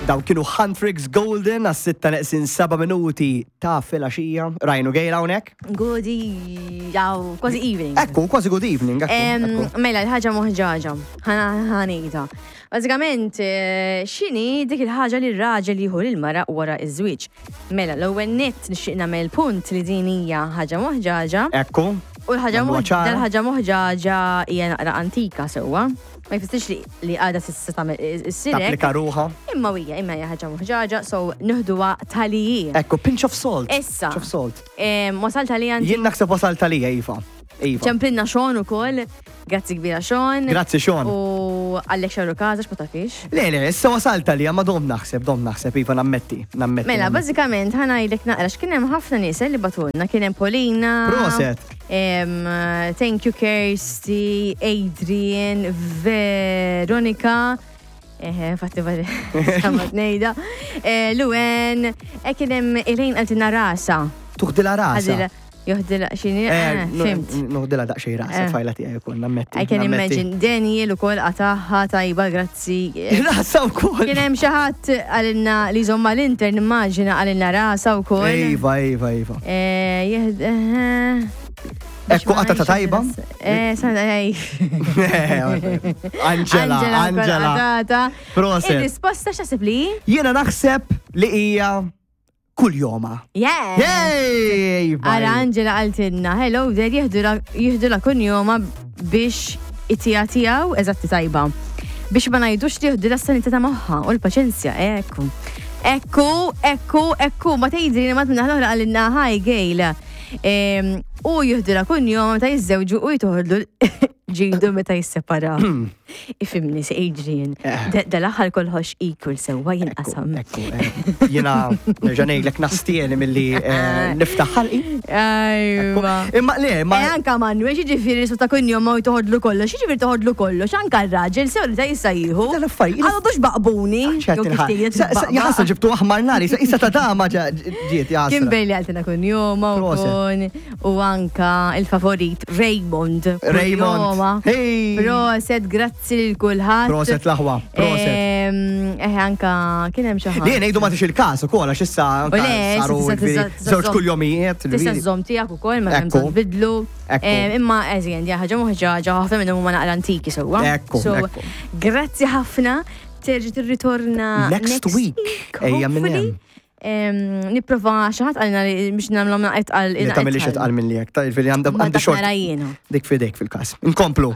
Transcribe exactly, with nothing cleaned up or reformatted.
Dawn kienu Huntrix Golden għas-sitta neqsin seba' minuti ta' filgħaxija. Rajnu gejla hawnhekk? Good, jaw, kważi evening. Ekku, kważi good evening. Ekku, Em, ekku. Mela, l-ħaġa moħġaġa, ħa ngħidha. Bażikament, eh, x'inhi dik il-ħaġa li r-raġel jieħu lil-mara wara iż-żwieġ? Mela, l-ewwel nett nixtieq nagħmel punt li din hija ħaġa moħġaġa. Ekku. U l-ħaġa Nagħmluha moħ- ċara. dal-ħaġa moħġaġa hija naqra antika sewwa. Ma jfissirx li li għadha s'issa tagħmel issirek. Tapplika ruħha. Imma hija, imma hija ħaġa moħġaġa, so nieħduha taliji. Ekku, pinch of salt. Issa. Pinch of salt. Wasalt għalija Jien naħseb wasalt għalija, Iva. Iva. ċemplinna Sean ukoll. Grazzi kbira, Sean. Grazzi, Sean. U għallek xarru kaza, ma tafix. Le, le, issa wasalt għalija, ma dom naħseb, dom naħseb, Iva, nammetti, nammetti. Mela, nammetti. bażikament ħa ngħidlek naqra x'kien hemm ħafna nies li bagħtulna, kien hemm Polina. Proset. Em, thank you, Kirsty, Adrian, Veronica. Eħe, fatti samat nejda. Eh, Luen, e kien hemm Elaine qaltilna rasa. Tuħdila rasa. Ħadila- Joħdila xini, Eh, eh, fimt. Noħdila daqsxejn rasa, Eh. tfajla tiegħi ukoll, nammetti. I can nammetti. imagine. Daniel ukoll qataħħa tajba, grazzi. Rasa wkoll. Kien hemm xi ħadd qalilna li żomma l-inter, nimmaġina qalilna rasa wkoll. Iva, Iva, Iva. Eh, jihd- eh, biex Ekku ma qatata ngħidx tajba. Eh, sa- ej. Angela, wkoll Angela. qatata. Proset. Il-risposta x'taħseb li? Jiena naħseb li hija kull joma. Yeah! Hey! Ara Angela qaltilna, "Hello there, jieħdu la kunjoma biex it-tija tiegħu, eżatti tajba. Biex ma ngħidux li jieħdu la sanità ta' moħħa u l-paċenzja, ekku. Ekku, ekku, ekku, ma tgħidri li mat minna l-oħra qalilna, "Hi Gail. Em, U jieħdu la kunjoma meta jiżżewġu u jtoħodlu ġidu meta jisseparaw." Ifhimni, se Adrian, Eh. dal-aħħar kollox equal sewwa jinqasam. Ekku, eh. Jiena nerġa' ngħidlek nastieni milli eh, niftaħ ħalqi. Ajwa. Imma le, ma E anka Manuel, ġifieri su ta' kunjom ma toħodlu kollox, ġifieri toħodlu kollox, anka r-raġel sew li ta' jista' jieħu. Dan affarijiet- Għadu dux baqbuni. ċert jew kif inħa- tgħid Sa- sa- tbaqbaq. Jaħasra ġibtu aħmar nari, sa- issa ta' dama ġa- ġiet jaħasra. Kimberly qaltilna kunjoma u Proset. kun u anka il-favorit Raymond. Raymond. Kunjoma. Hey! Proset, grazzi lil kulħadd. Proset l-aħwa, proset. Em, Eh, anka kien hemm xi ħadd. Li ngħidu ma tix il-każ ukoll għax issa anka U le, saru tista' ġifieri tista' żewġ żomm- kuljomijiet. Tista' ġifieri. żomm tiegħek ukoll ma hemm Ekku. tbidlu. Ekku. Em, Imma eżien, di ħaġa moħġaġa ħafna minnhom huma naqra antiki sewwa. Ekku, So, ekku. grazzi ħafna. Terġa' tirritorna Next week. Ejja minn hopefully. hemm. Em, Nipprova xi ħadd qalilna li biex nagħmlhom naqet għal Li tagħmilix itqal minn li jekk, ta' ġifieri għandha Ma għandi dak xort nara jiena. dik fidejk fil-każ. Inkomplu.